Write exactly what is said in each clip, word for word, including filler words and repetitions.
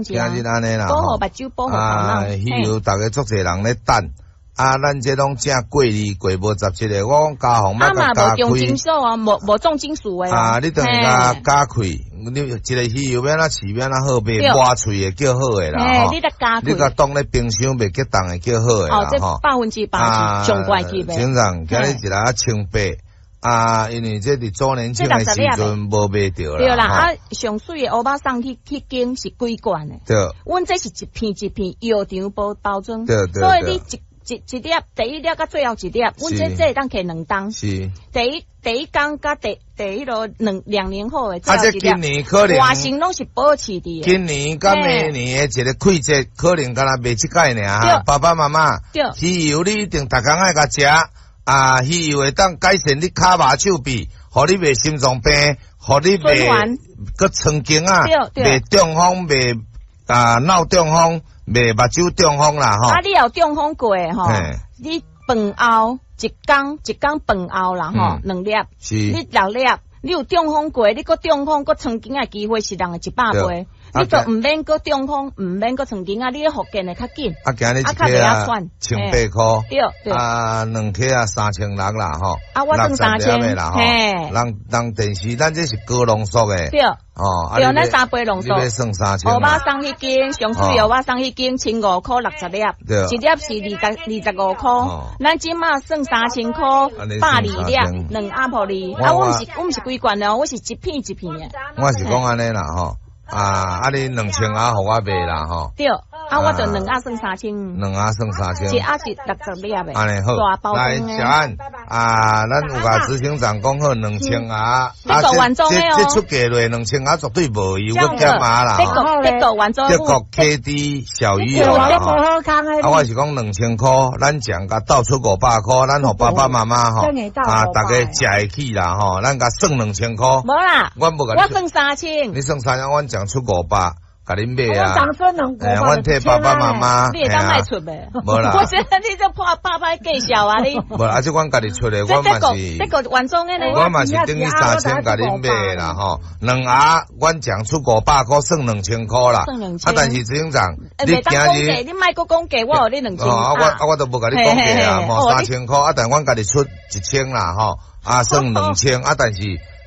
今日按呢啦，保護目睭，保護頭啊，腦。魚油逐家足濟人咧等，啊，咱這攏正過濾過無十七个，我講加防啊嘛莫共加無重金開。屬啊，無無重金屬的。啊，你等於共加開，你一個魚油欲按怎飼欲按怎好賣，抹喙的叫好的啦。嘿，你得加開。你共凍咧冰箱袂結凍的叫好的啦。哦，這百分之百是上懸級的。先生，今日一粒千八。啊，因為這佇周年慶的時陣無賣著啦。對啦，啊，上媠的烏肉送去彼間是規罐的。對。阮這是一片一片藥廠包包裝。對對。所以你一一一粒，第一粒佮最後一粒，阮這這會當提兩冬。是。第一第一工佮第第彼囉兩兩年後的啊，這今年可能。外形攏是保持佇。今年佮明年的一個季節，可能敢若賣這擺爾哈。爸爸媽媽。對。魚油你一定逐工愛共食。啊，魚油會當改善你跤肉手臂，予你袂心臟病，予你袂閣腸鏡啊，袂中風，袂啊腦中風，袂目睭中風啦吼。啊，你有中風過吼？你飯後一工一工飯後啦吼，兩粒，你六粒，你有中風過，你閣中風閣腸鏡的機會是人的一百倍。你就毋免閣中風，毋免閣腸鏡啊！你咧復健會較緊。啊，今日一克啊，千八箍。對對。啊，兩克啊，三千六啦吼。啊，我算三千啦吼。人人電視，咱這是高濃縮的。對。哦。對，咱三倍濃縮。你欲算三千。烏肉送彼間，上媠烏肉送彼間，千五箍六十粒。對。一粒是二十二十五箍。咱這馬算三千箍，百二粒，兩盒予你。啊，我毋是我毋是規罐哦，我是一片一片的。我是講按呢啦吼。啊！啊，你兩千盒予我賣啦吼。對，啊，我就兩盒算三千。兩盒算三千。一盒是六十粒的。按呢好，來小安啊，咱有共執行長講好兩千盒。啊，這這出價落兩千盒絕對無油閣減碼啦。德國德國原裝。德國 K D 小魚油啦吼。啊，我是講兩千箍，咱將共鬥出五百箍，咱予爸爸媽媽吼，啊，逐家食會起啦吼，咱共算兩千箍。無啦，我無共。我算三千。你算三千，阮將出五百，共恁買啊！阮替爸爸媽媽。你會當賣出袂？無啦。我覺得你這破百歹計數啊你。無啦，啊，這阮家己出的，我嘛是。這個原裝的呢？我嘛是等於三千共恁買啦吼，兩盒阮將出五百箍，算兩千箍啦。算兩千。啊，但是執行長，你今日你莫閣講價，我予你兩千。哦，我啊我都無共你講價啊，吼三千箍，啊，但阮家己出一千啦吼，啊算兩千，啊，但是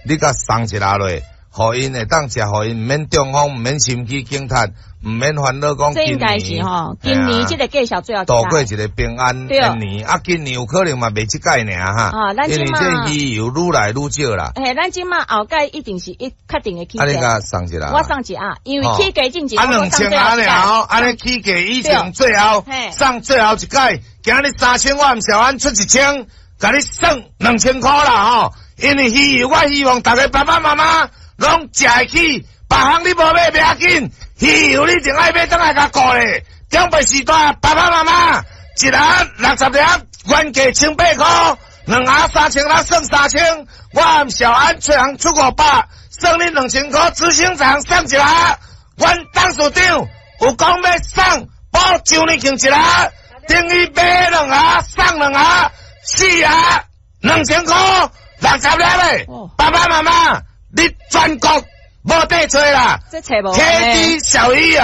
你共送一下落。予𪜶會當食，予𪜶毋免中風，毋免心肌梗塞，毋免煩惱講。這應該是吼，今年這個計數最後度過一個平安的年。啊，今年有可能嘛袂這擺爾哈。因為這魚油愈來愈少啦。嘿，咱這馬後蓋一定是一確定會起價。啊，你共送一下。我送一盒，因為起價進前。啊，兩千盒爾，按呢起價以前最後送最後一擺，今日三千我毋小安出一千，共你算兩千箍啦吼。因為魚油，我希望逐家爸爸媽媽攏食會起，別項你無買袂要緊，魚油你一定愛買轉來共顧咧。長輩時代，爸爸媽媽一盒六十粒，原價千八箍，兩盒三千六，算三千。我小安出人出五百，算你兩千箍。執行長送一盒，阮董事長有講欲送補周年慶一盒，等於買兩盒送兩盒，四盒兩千箍，六十粒的。爸爸媽媽，你全國無得揣啦。K D 小魚油，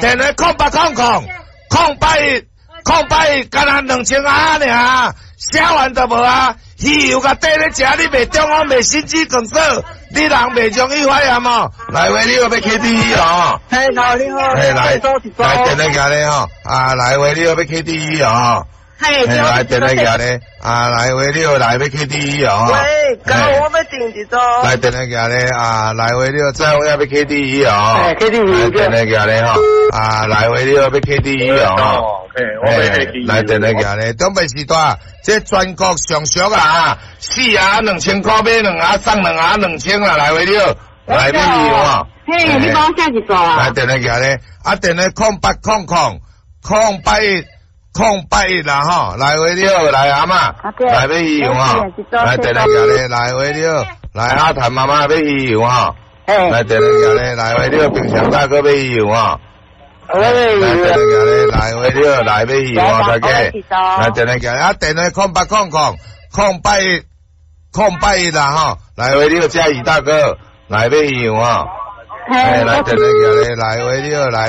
電話空八空空空八一空八一，干焦兩千盒爾，寫完就無啊。魚油共綴咧食，你袂中風，袂心肌梗塞，你人袂容易發炎哦。來喂，你有欲 K D 魚哦？嘿，你好。嘿，來來電話寄咧吼，啊，來喂，你有欲 K D 魚哦？嘿，來電話寄咧，啊，來喂，你有來欲 K D 魚哦？喂，剛我欲訂一組。來電話寄咧，啊，來喂，你有再有欲 K D 魚哦？嘿，K D 魚。來電話寄咧吼，啊，來喂，你有欲 K D 魚哦？來電話寄咧，長輩時代，這全國上俗啊，四盒兩千箍買兩盒送兩盒兩千啦，來喂你好，來欲魚哦。嘿，你幫我寫一組啊。來電話寄咧，啊電話空八空空空八一空八一啦吼，來喂你好，來阿嬤，來欲魚油吼，來電話寄咧，來喂你好，來阿譚媽媽欲魚油吼，來電話寄咧，來喂你好，平常大哥欲魚油吼。來電話寄咧，來喂你好，來欲魚油吼，大家，來電話寄，啊電話空八空空空八一空八一啦吼，來喂你好，嘉義大哥，來欲魚油吼。哎，來電來來，喂，你好，來。